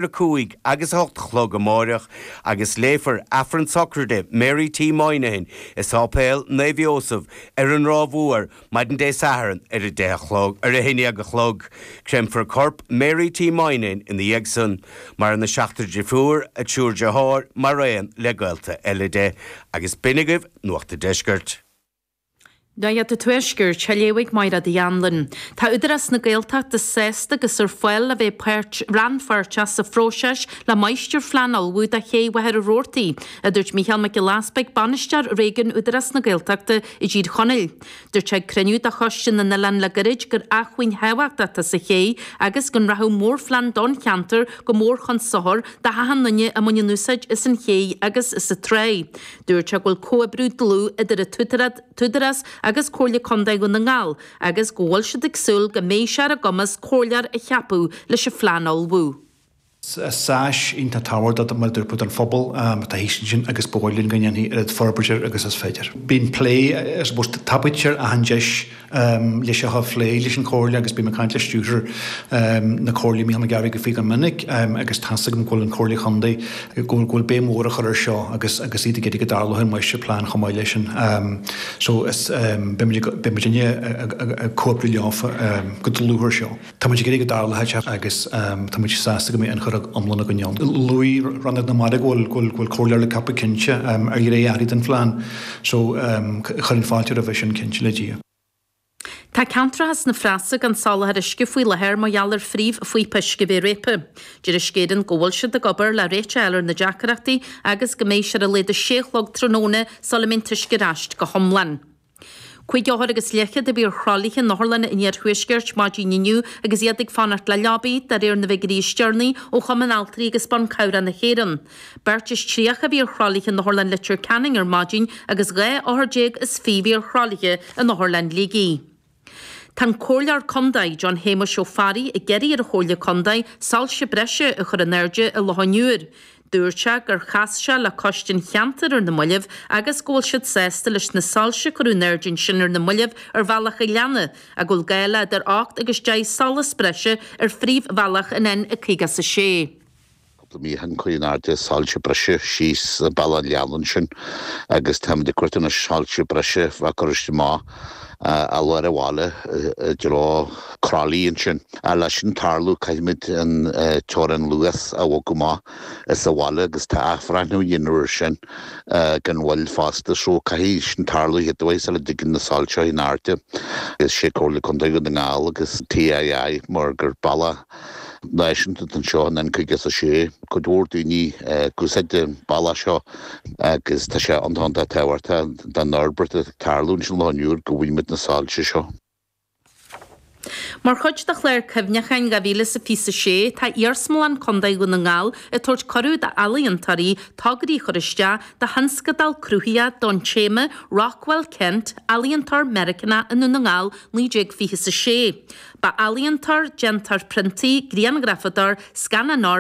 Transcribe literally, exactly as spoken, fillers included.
a cúig agus a hocht a chlog amáireach agus léifear Aifreann sochraide Mary T. Moynihan i Sáipéal Naomh Iósaf ar an Ráth Mhór maidin Dé Sathairn ar a deich a chlog ar a haon déag a chlog. Créamfar corp Mary T. Moynihan ina dhiaidh san. Maireann a seachtar deirfiúr, a triúr deartháir mar aon le gaolta eile di. Agus b'in agaibh Nuacht an Deiscirt. Nuacht an Tuaiscirt, á léamh ag Máire Uí Anluain. Tá Údarás na Gaeltachta sásta agus ar fáil a bheith páirt rannpháirteach sa phróiseas le máistirphlean a ullmhú do ché Mhachaire Rabhartaigh, a dúirt Mícheál Mac Giolla Easpaig, Bainisteoir Réigiún Údarás na Gaeltachta i dTír Chonaill. Dúirt sé ag cruinniú de Choiste na nOileán le gairid gur acmhainn thábhachtach atá sa ché agus go rachadh mórphlean don cheantar go mór chun sochair do achan duine a mbaineann úsáid as an ché agus as an trá. Dúirt sé go bhfuil comhoibriú dlúth idir an tÚdarás agus Comhairle Contae Dhún na nGall agus go bhfuil siad ag súil go mbeidh sé ar a gcumas comhairleoir a cheapadh leis an phlean a ullmhú. Is áis iontach tábhachtach mar dúirt don phobal atá thíos ansin agus ba mhaith linn go ndéanfaí oiread forbairt air agus is féidir. Bíonn plé I suppose tapaítear achan deis leis seo a phlé leis an Chomhairle agus bím ag caint le stiúrthóir na Comhairle Mícheál Mac Gabhraigh faoi go minic agus tá's agam go bhfuil an Chomhairle Chontae go bhfuil béim mhór á chur ar seo agus agus iad ag iarraidh go dtarlódh an máistirphlean chomh maith leis sin. So is beidh muidinne ag comhoibriú leofa go dlúth ar seo. Tá muid ag iarraidh go dtarlódh sé agus tá muid sásta go mbeidh ionchur iomlán againn ann. Luaigh Rannóg na Mara go bhfuil go bhfuil comhairleoir le ceapadh cinnte ar ghné áirithe den phlean so chuirfinn fáilte roimhe sin cinnte le Dia. Tá ceantracha sna Preasa gan soláthar uisce faoi láthair mar gheall ar phríomhphíopa uisce a bheith réabtha. Deir Uisce Éireann go bhfuil siad ag obair le réiteach a fháil ar na deacrachtaí agus go mbeidh sé ar a laghad a sé a chlog tráthnóna sula mbeidh an t-uisce ar ais go hiomlán. Cúig othar agus leathchéad a bhí ar thralaithe in otharlanna an iarthuaiscirt maidin inniu agus iad ag fanacht le leabaí, de réir na bhfigiúirí is deireanaí ó Chumann Altraí agus Ban Cabhrach na hÉireann. Beirt is tríocha a bhí ar thralaithe in Otharlann Leitir Ceanainn ar maidin agus dhá othar déag is fiche a bhí ar thralaithe in Otharlann Shligigh. Tá an Comhairleoir Contae, John Shéamuis Ó Fearraigh, ag iarraidh ar an Chomhairle Contae soilse breise a chur in airde i Loch an Iúir. Dúirt sé gur chas sé le coiste an cheantair ar na mallaibh agus go bhfuil siad sásta leis na soilse a cuireadh in airde ansin ar na mallaibh ar Bhealach an Ghleanna ach go bhfuil gá le idir ocht agus deich solas breise ar phríomhbhealach an N caoga is a sé. Cúpla mí ó shin cuireadh in airde soilse breise síos Bealach an Ghleanna ansin agus táimid ag cuartú anois soilse breise a bheith curtha amach i lár an bhaile i dtreo Crolly ansin. Leis sin tarlú caithfimid an teorainn luas a bhogadh amach as an bhaile agus tá athbhreithniú á dhéanamh air sin gan mhoill fosta so caithfidh sin tarlú chéad sula dtigeann na soilse in airde. Is sé Comhairle Contae Dhún na nGall agus TII mar gur bealach náisiúnta anseo an N caoga is a sé. Cuid mhór daoine ag úsáid an bealach seo agus tá sé iontach tábhachtach don fhorbairt atá ag tarlú ansin Loch an Iúir go bhfaighimid na soilse seo. Mar chuid de chlár cuimhneacháin dhá mhíle is a fiche a sé, tá Iarsmalann Contae Dhún na nGall ag tabhairt cuireadh d'ealaíontóirí tograí a chur isteach do thionscadal cruthaitheach don téama Rockwell Kent, Ealaíontóir Meiriceánach i nDún na nGall naoi déag fiche a sé. Ba ealaíontóir, déantóir priontaí, grianghrafadóir, scannánóir,